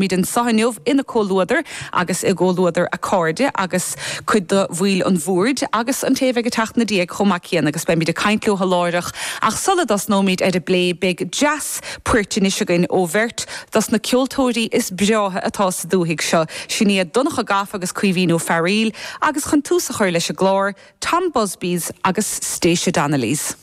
Táimid anseo inniu ina comhluadar agus i gcomhluadar a cairde agus cuid de bhaill an bhoird agus an té a bheidh ag teacht ina diaidh chomh maith céanna agus beimid ag caint leo láithreach ach sula dtosnóimid ar an bplé beidh dreas poirt anois againn ó bheirt dos na ceoltóirí is breátha atá sa dúthaigh seo, sin iad Donncha Gafa agus Caoimhín Ó Fearaíl agus chun tús a chur leis an gclár, Tom Busby's agus Stacia Donnelly's.